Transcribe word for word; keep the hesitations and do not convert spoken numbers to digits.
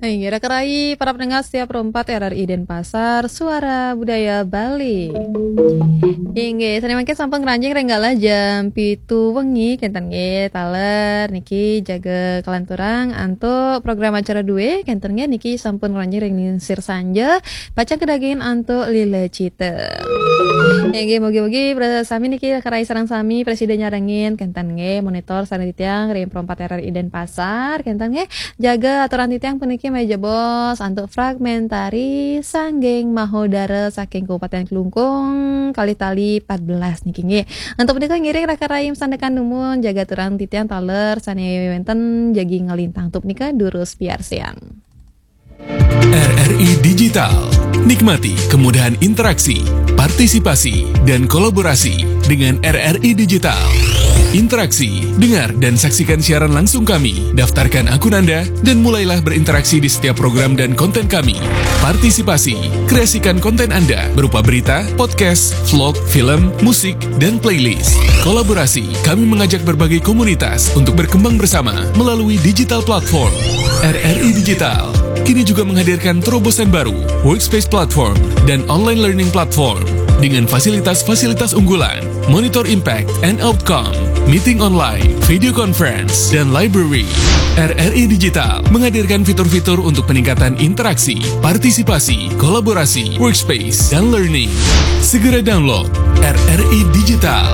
Inggih, raka rayi para pendengar setia Pro empat R R I Denpasar, Suara Budaya Bali. Inggih, sami mangkin sampun ngranjing ring galah jam pitu wengi, kenten nggih, taler niki jaga kalanturang antuk program acara due, kenten nggih, niki sampun ngranjing ring lingsir sanja, pacang kadagingin antuk Lila Cita. Inggih, mugi-mugi para sami niki raka rayi sareng sami prasida nyarengin, kenten nggih, monitor sareng titiang ring Pro empat R R I Denpasar, kenten nggih, jaga aturang titiang puniki malih jebos antuk fragmentari Sangging Mahodara saking Kabupaten Klungkung, kalih tali empat belas niki nggih. Antuk punika ngiring raka rayi masandekan dumun, jaga aturang titiang taler sane wenten jagi nglintang. Antuk punika durus piarsayang. R R I Digital. Nikmati kemudahan interaksi, partisipasi, dan kolaborasi dengan R R I Digital. Interaksi, dengar dan saksikan siaran langsung kami. Daftarkan akun Anda dan mulailah berinteraksi di setiap program dan konten kami. Partisipasi, kreasikan konten Anda berupa berita, podcast, vlog, film, musik, dan playlist. Kolaborasi, kami mengajak berbagai komunitas untuk berkembang bersama melalui digital platform. R R I Digital kini juga menghadirkan terobosan baru, Workspace Platform dan Online Learning Platform dengan fasilitas-fasilitas unggulan, monitor impact and outcome, meeting online, video conference, dan library. R R I Digital menghadirkan fitur-fitur untuk peningkatan interaksi, partisipasi, kolaborasi, workspace, dan learning. Segera download R R I Digital.